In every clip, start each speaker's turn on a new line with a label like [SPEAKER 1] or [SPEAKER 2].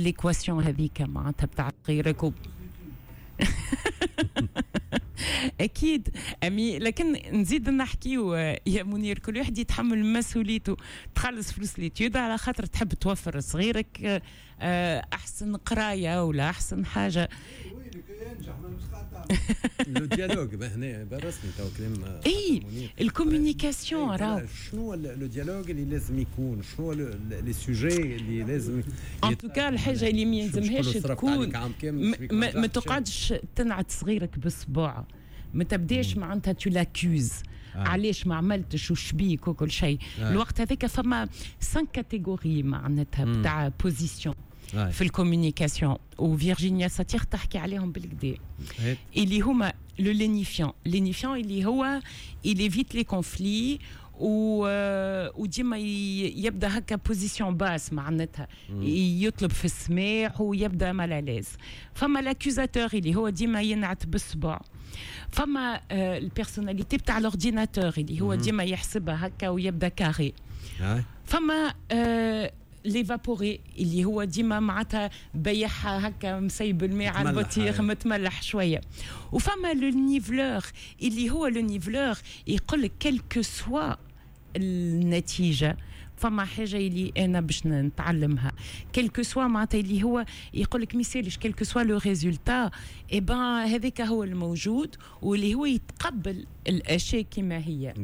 [SPEAKER 1] في l'équation هذيك معناتها بتاع غيرك اكيد امي. لكن نزيد نحكيو يا منير، كل واحد يتحمل مسؤوليته. تخلص فلوس l'étude على خاطر تحب توفر صغيرك احسن قرايه ولا احسن حاجه.
[SPEAKER 2] le dialogue هنا بالرسمي تو كلام.
[SPEAKER 1] اي ال communication راهو.
[SPEAKER 2] شنو le dialogue اللي لازم يكون؟ شنو les sujets اللي لازم؟
[SPEAKER 1] en tout cas الحاجة اللي ما يلزمهاش تكون، ما تقعدش تنعت صغيرك بالصباع، ما تبداش معناتها tu l'accuses، علاش ما عملتش وشبيك وكل شيء. الوقت هذاك فما 5 catégories معناتها بتاع positions في ال communication، وفيرجينيا ساتير تحكي عليهم بالكدا، اللي هما le lénifiant. lénifiant اللي هو il évite les conflits وديما يبدا هكا position basse، معناتها يطلب في السماح ويبدا mal à l'aise. فما l'accusateur اللي هو ديما ينعت بالصبع. فما ال personnalité بتاع l'ordinateur اللي هو ديما يحسبها هكا ويبدا carré. فما l'évaporé اللي هو ديما معناتها بيعها هكا، مسيب الماء على البطيخ، متملح شويه. وفما le niveleur اللي هو le niveleur يقول لك quelle que soit النتيجة فما حاجة اللي انا باش نتعلمها، quel que soit معناتها اللي هو يقول لك ميسالش، quel que soit le résultat، eh ben هذاك هو الموجود، واللي هو يتقبل الاشياء كما هي.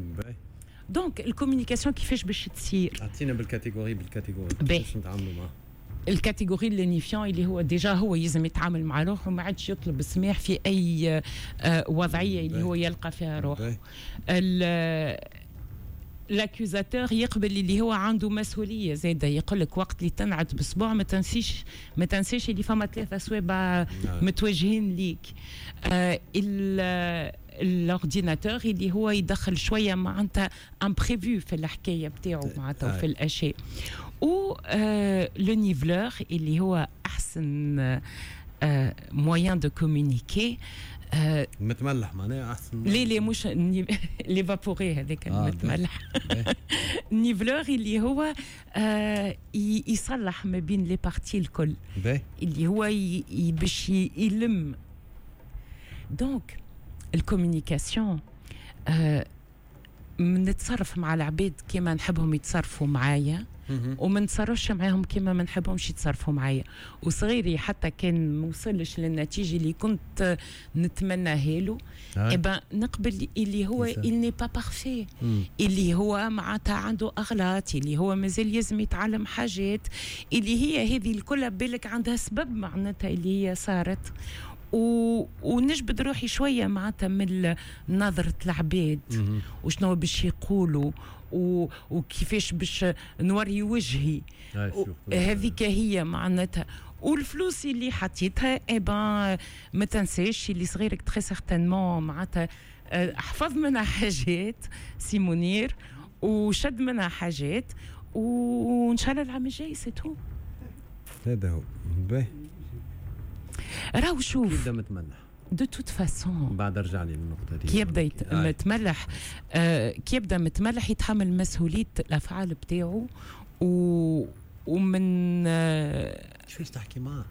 [SPEAKER 1] donc ال communication كيفاش باش تصير؟
[SPEAKER 2] اعطينا بال catégorie بال catégorie كيفاش نتعاملوا معاه.
[SPEAKER 1] ال catégorie lénifiant اللي هو déjà هو يلزم يتعامل مع روحه وما عادش يطلب السماح في اي وضعية اللي هو يلقى فيها روحه. l'accusateur يقبل اللي هو عنده مسؤولية زاده، يقول لك وقت اللي تنعت بصبع ما تنسيش اللي فما ثلاثة صوابع متوجهين ليك. L'ordinateur اللي هو يدخل شوية معناتها imprévu في الحكاية بتاعه معناتها وفي الاشياء. و le niveleur اللي هو احسن moyen de communiquer.
[SPEAKER 2] متملح معناها احسن.
[SPEAKER 1] لي لي مش l'évaporé هذاك المتملح. niveleur اللي هو يصلح ما بين les parties الكل، اللي هو باش يلم. donc ال communication نتصرف مع العباد كما نحبهم يتصرفوا معايا وما نتصرفش معاهم كما ما نحبهمش يتصرفوا معايا. وصغيري حتى كان ما وصلش للنتيجة اللي كنت نتمناها له، eh ben نقبل اللي هو il n'est pas parfait، اللي هو معناتها عنده اغلاط، اللي هو مازال لازم يتعلم حاجات، اللي هي هذه الكل بالك عندها سبب معناتها اللي هي صارت. ونجبد روحي شوية معناتها من نظره العباد وشنو باش يقولوا وكيفاش باش نوري وجهي. هذيك هي معناتها. والفلوس اللي حطيتها، eh ben ما تنساش اللي صغيرك très certainement معناتها حفظ منها حاجات سي منير وشد منها حاجات، وان شاء الله العام الجاي، c'est tout.
[SPEAKER 2] هذا هو، باهي.
[SPEAKER 1] راهو شوف.
[SPEAKER 2] يبدا متملح.
[SPEAKER 1] de toute façon.
[SPEAKER 2] بعد ارجع لي للنقطة دي.
[SPEAKER 1] كي يبدا متملح، كي يبدا متملح يتحمل مسؤولية الافعال بتاعه ومن
[SPEAKER 2] كيفاش تحكي معاه؟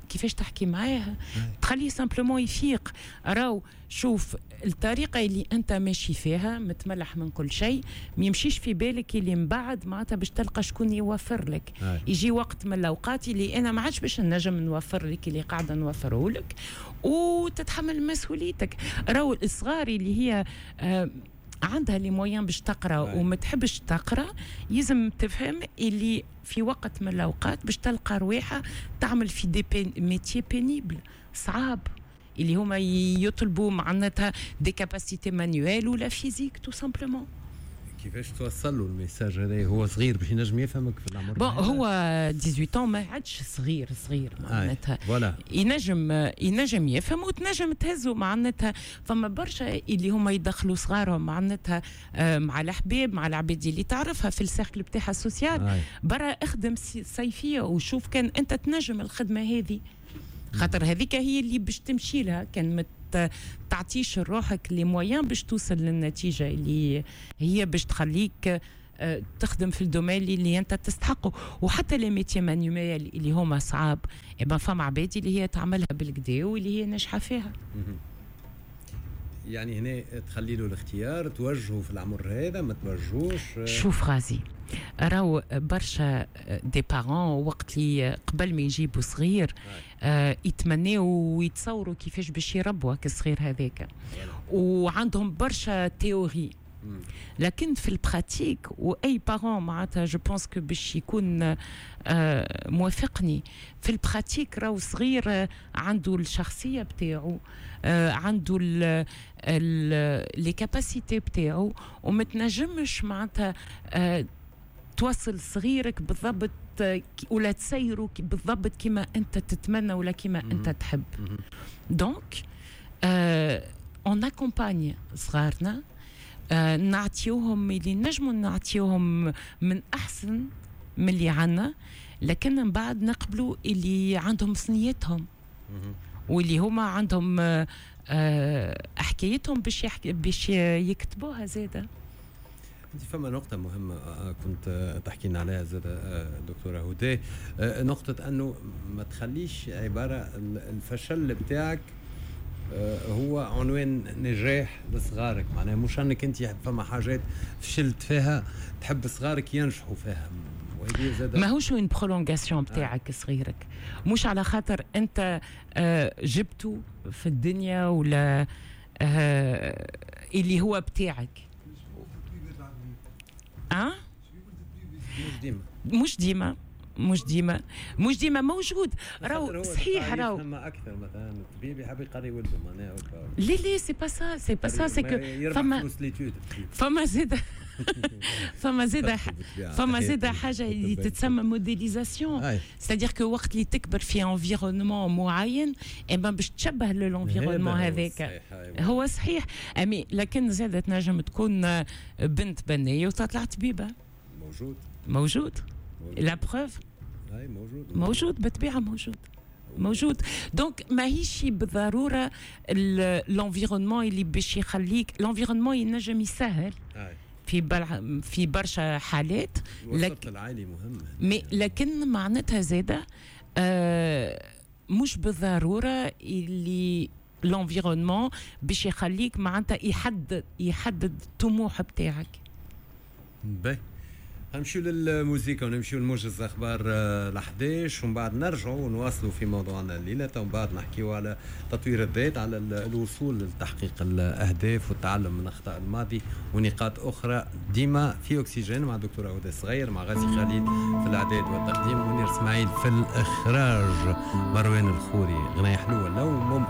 [SPEAKER 1] كيفاش تحكي معاه؟ تخليه simplement يفيق. راهو شوف، الطريقة اللي انت ماشي فيها متملح من كل شيء، ما يمشيش في بالك اللي من بعد معناتها باش تلقى شكون يوفر لك. يجي وقت من الاوقات اللي انا ما عادش باش نجم نوفر لك اللي قاعدة نوفره لك، وتتحمل مسؤوليتك. راهو الصغار اللي هي عندها les moyens باش تقرا وما تحبش تقرا، يلزم تفهم اللي في وقت من الاوقات باش تلقى رواحه تعمل في des métiers pénibles، صعاب، اللي هما يطلبوا معناتها des capacités manuelles ولا physiques tout simplement.
[SPEAKER 2] كيفاش توصل له ال message هذا؟ هو صغير باش ينجم يفهمك في العمر؟
[SPEAKER 1] bon، هو 18 ما عادش صغير صغير معناتها.
[SPEAKER 2] voilà.
[SPEAKER 1] ينجم يفهم وتنجم تهزو معناتها. فما برشا اللي هما يدخلوا صغارهم معناتها مع الحباب، مع العباد اللي تعرفها في ال cercle بتاعها ال social. برا اخدم صيفية وشوف كان انت تنجم الخدمة هذه، خاطر هذيك هي اللي باش تمشي لها. كان ما تعطيش روحك les moyens باش توصل للنتيجة اللي هي باش تخليك تخدم في ال domaine اللي انت تستحقه. وحتى les métiers manuels اللي هما صعاب، فما عباد اللي هي تعملها بالقدا واللي هي ناجحة فيها.
[SPEAKER 2] يعني هنا تخلي له الاختيار، توجهه في العمر هذا ما توجهوش.
[SPEAKER 1] شوف غازي، راهو برشا des parents وقت اللي قبل ما يجيبوا صغير يتمناو ويتصوروا كيفاش باش يربوا الصغير هذاك، وعندهم برشا théories، لكن في ال pratique واي parent معناتها je pense que باش يكون موافقني في ال pratique، راهو صغير عنده الشخصية بتاعه، عنده les capacités بتاعه، وما تنجمش معناتها توصل صغيرك بالضبط ولا تسيره بالضبط كما انت تتمنى ولا كما انت تحب. donc on accompagne صغارنا، نعطيوهم اللي نجموا نعطيوهم من احسن من اللي عنا، لكن من بعد نقبلوا اللي عندهم ثنيتهم واللي هما عندهم حكايتهم باش يكتبوها زاده.
[SPEAKER 2] انت فما نقطة مهمة كنت تحكي لنا عليها زاد دكتورة هدى، نقطة أنه ما تخليش عبارة الفشل بتاعك هو عنوان نجاح لصغارك. معناها مش انك انت فما حاجات فشلت فيها تحب صغارك ينجحوا فيها.
[SPEAKER 1] ماهوش une prolongation بتاعك صغيرك، مش على خاطر انت جبته في الدنيا ولا اللي هو بتاعك. أه؟
[SPEAKER 2] مش ديما،
[SPEAKER 1] مش ديما، مش ديما، مش ديما موجود. راهو صحيح، راهو
[SPEAKER 2] فما اكثر مثلا الطبيب يحب يقري ولده معناها.
[SPEAKER 1] لا لا، c'est pas ça، c'est pas ça، c'est que فما زاد حاجة اللي تتسمى modélisation، c'est-à-dire que وقت اللي تكبر في environnement معين eh ben باش تشبه l'environnement هذاك. هو صحيح امي، لكن زاد تنجم تكون بنت بنيه وتطلع طبيبه.
[SPEAKER 2] موجود.
[SPEAKER 1] موجود، la preuve.
[SPEAKER 2] موجود.
[SPEAKER 1] موجود بالطبيعه، موجود موجود. donc ماهيش بالضرورة l'environnement اللي باش يخليك، l'environnement ينجم يسهل في برشا حالات.
[SPEAKER 2] لك العائلي مهم.
[SPEAKER 1] mais لكن معناتها زاده مش بالضرورة اللي l'environnement باش يخليك معناتها يحدد الطموح بتاعك.
[SPEAKER 2] باهي، نمشيو للموسيقى ونمشيو لموجز اخبار ال 11، ومن بعد نرجعوا ونواصلوا في موضوعنا الليله. ومن بعد نحكيو على تطوير الذات، على الوصول لتحقيق الاهداف والتعلم من اخطاء الماضي ونقاط اخرى. ديما في اكسجين مع الدكتورة هدى الصغير، مع غازي خليل في الاعداد والتقديم، منير اسماعيل في الاخراج، مروان الخوري. غناية حلوة لو ممكن.